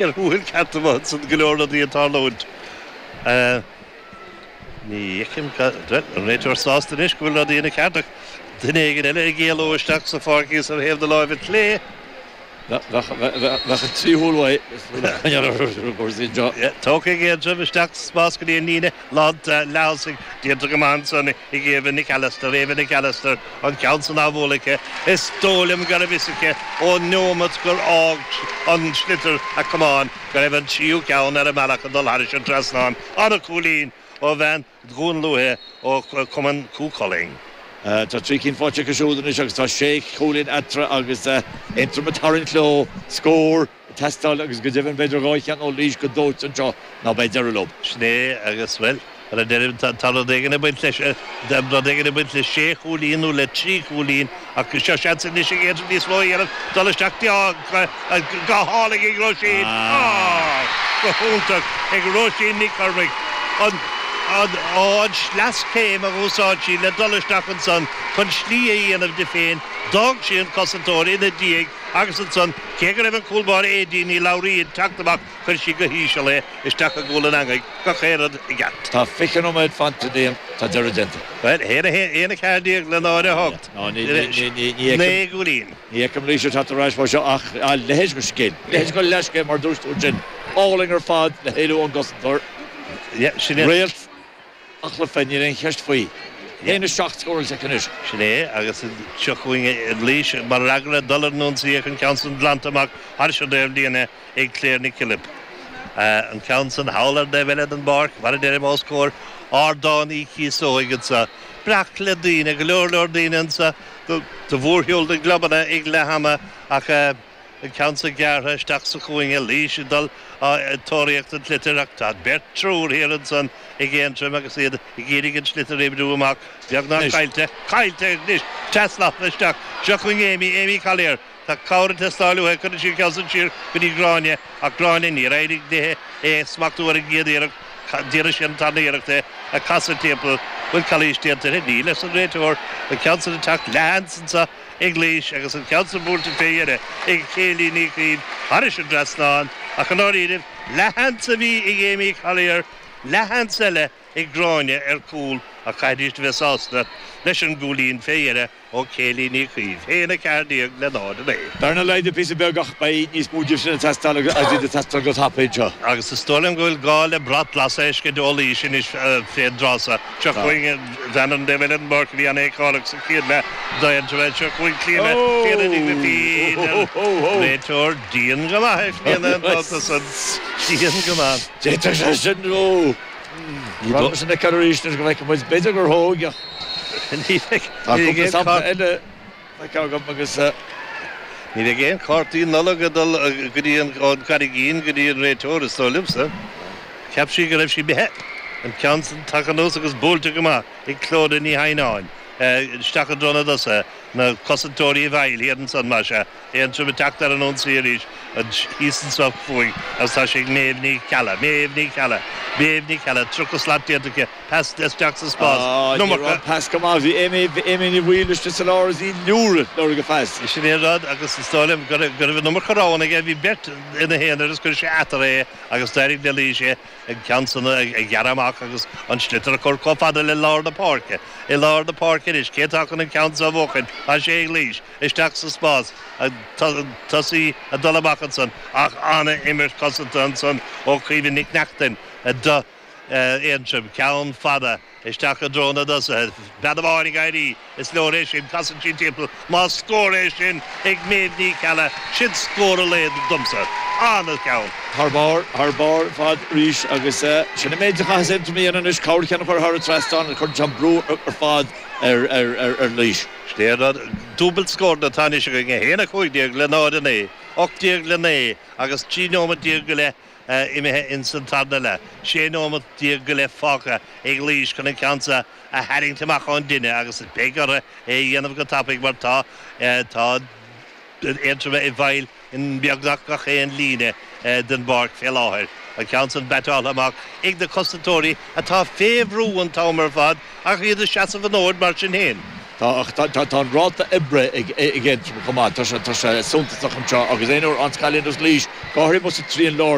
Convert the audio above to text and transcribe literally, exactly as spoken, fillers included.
Ar shúil ceart ansan go leor rudaí ag tarlúint. Ní fheicim an réiteoir sásta anois go bhfuil rudaí ina ceart ach duine éigin eile ag éalú isteach sa pháirc thíos ar thaobh na láimhe clé. Bheadh an trí shúil uaidh. Tógtha ag Aontroim isteach sa spás go dtí an líne lán leath-thosaigh. Déanta go maith ansan ag Éabha Nic Alastair, Éabha Nic Alastair, an ceann san á bhualadh aici. Is dóigh liom go raibh fhios aici ón neomat gur fhág an sliotar a camán go raibh an tríú ceann ar a mbealach ag dul thairis an trasnán. An-chúilín ó bhean Dhún Lúiche ó Chumann Chú Chulainn. Tá trí cinn faighte acu siúd anois agus tá sé chúilín eatarthu agus Aontroim ag tarraingt leo. Scór ag teastáil agus go deimhin b'fhéidir dhá cheann ó Laois go dóite anseo ná beidh deireadh leo. Sin é agus, bhuel, mar a deirim, tá rud éigin ag baint leis, rud éigin ag baint le sé chúilín nó le trí chúilín ach seo seans anois ag Aontroim níos mó a dhéanamh, dul isteach go hálainn ag Róisín! Go hiontach ag Róisín Nic Chormaic. An an sleaschéim a dh'úsáid sí le dul isteach ansan chun slí a dhéanamh di féin, d'fhág sí an cosantóir ina diaidh agus ansan, cé go raibh an cúl báire Aedín Ní Labhraí ag teacht amach, chuir sí go híseal é isteach i gcúl an eangaigh, gach aon rud i gceart. Tá fiche nóiméad fanta, Liam, tá deireadh déanta. Bhuel, a haon a haon a ceathair déag le náid a hocht, naoi gcúilín. Ní fheicim Laois ag teacht ar ais mar seo ach a leithéid de scil, leithéid de leathscéim mar dúirt tú ansin, álainn ar fad le héalú ón gcosantóir. Réalt an chluiche, níl aon cheist faoi. Haon a seacht scóráilte aici anois. Sin é, agus seo chugainn Laois mar fhreagra dul ar an ionsaí ach an ceann san glanta amach thairis an dtaobhlíne ag Claire Nic Pilib. An ceann san thall ar an dtaobh eile den bpáirc, mar a deirim, os comhair Ardán Uí Chíosóig anseo. Breac le daoine, go leor leor daoine anseo do mhórshiúl na gclubanna ag leath ama ach an ceann san gearrtha isteach sa chúinne, Laois ag dul ag tóraíocht an tsliotair ach tá beirt, triúr thiar ansan ag Aontroim agus iad ag iarraidh an sliotar a oibriú amach, beagnach caillte, caillte anois, trasna isteach, seo chugainn Amy, Amy Collier, tá cabhair ag teastáil uaithi, cuireann sí an ceann san siar go dtí Gráinne ach Gráinne, níor éirigh léi é a smachtú ar an gcéad iarracht, déanfaidh sí an tarna iarracht é a chasadh timpeall, bhfuil calaois déanta uirthi? Níl, arsa an réiteoir, an ceann san ag teacht leathsheans anso. ag Laois agus an ceann san buailte fé dheireadh ag Kayleigh Ní Chaoimh thairis an dtrasnán ach i ndáiríribh, leathsheans a bhí ag Amy Collier, leathsheans eile ag Gráinne ar chúl ach caithfidís a bheith sásta leis an gcúilín fé dheireadh ó Kayleigh Ní Chaoimh. haon a ceathair déag le náid a naoi. Bearna laghdaithe píosa beag ach beidh níos mó díobh sin ag teastáil agus iad ag teastáil go tapaidh anseo. Agus is dóigh liom go bhfuil gá le brat glas a fheiscint ó Laois anois fén dtráth seo. Seo chugainn bhean an taobh eile den bpáirc a bhí an-fheiceálach sa chéad leath d'Aontroim. Seo chugainn Clíona, Clíona Ní Ghrifín, an réiteoir dian go maith ar Chlíona an babhta san. Dian go maith. D'fhéadfadh sé sin, ó, ní raibh mise ina ceann arís anois go bhfeicfidh muid. B'fhéidir gur thóg ach Ní bheidh tá cúpla sampla eile feicthe agam agus. Ní bheidh aon chártaí Nollag ag dul go dtí an ón gCarraigín go dtí an réiteoir, is dóigh liomsa. Cheap sí go raibh sí imithe. An ceann san tagtha anuas agus buailte go maith ag Clodagh Ní Theimhneáin. Isteach i dtreo na dtosaithe. Na cosantóirí i bhfeighil thiar ansan, más ea. Aontroim ag teacht ar an ionsaí arís thíos anso fúinn agus tá sé ag Méabh Ní Cheallaigh. Méabh Ní Cheallaigh. Méabh Ní Cheallaigh. Tríocha slat déanta aici. Pas isteach sa spás. Ní raibh Iomarca. an pas go maith. Bhí Amy, Amy Ní Bhaoill istigh sa lár is í liúradh lorg a phas. Sin é an rud agus is dóigh liom go raibh, go raibh an iomarca roghanna aige. Bhí beirt ina haonar agus chuir sé eatarthu é agus d'éirigh le Laois é an ceann san a ghearradh amach agus an sliotar a chur chomh fada le lár na páirce. I lár na páirce anois, cé atá chun an ceann so a bhuachan? Tá sé ag Laois. Isteach sa spás. An tosaí ag dul amach ansan ach an-imirt cosanta ansan ó Chaoimhe Nic Neachtain do Aontroim. Ceann fada isteach i dtreo na dtosaithe. Bean amháin ag éirí, is leor é sin, casann sí timpeall. Más scór é sin ag Méabh Ní Cheallaigh, sin scór an lae domsa. An-cheann. Thar barr, thar barr ar fad arís agus sin an méid a chaithfeas Aontroim a dhéanamh anois, corrcheann a chur thar an trasnán, cuireann sé an brú ar fad ar Laois. Sin é an rud. Dúbailt scóranna atá anois againn, a haon a cúig déag le náid a naoi, ocht déag le naoi agus trí nóimeat déag go leith imithe ins an tarna leath. Sé nóimeat déag go leith fágtha ag Laois chun an ceann seo a tharraingt amach ón dtine agus beidh orthu é a dhéanamh go tapaidh mar tá tá Aontroim i bhfeighil i mbeagnach gach aon líne den bpáirc fé láthair. An ceann san baiteáltha amach ag na cosantóirí atá fé bhrú an t-am ar fad ach iad ag seasamh an fhóid mar sin féin. Tá an ráta oibre ag ag chomh maith tá sé suntasach anseo agus aon an cailín Laois go háirithe sa trian lár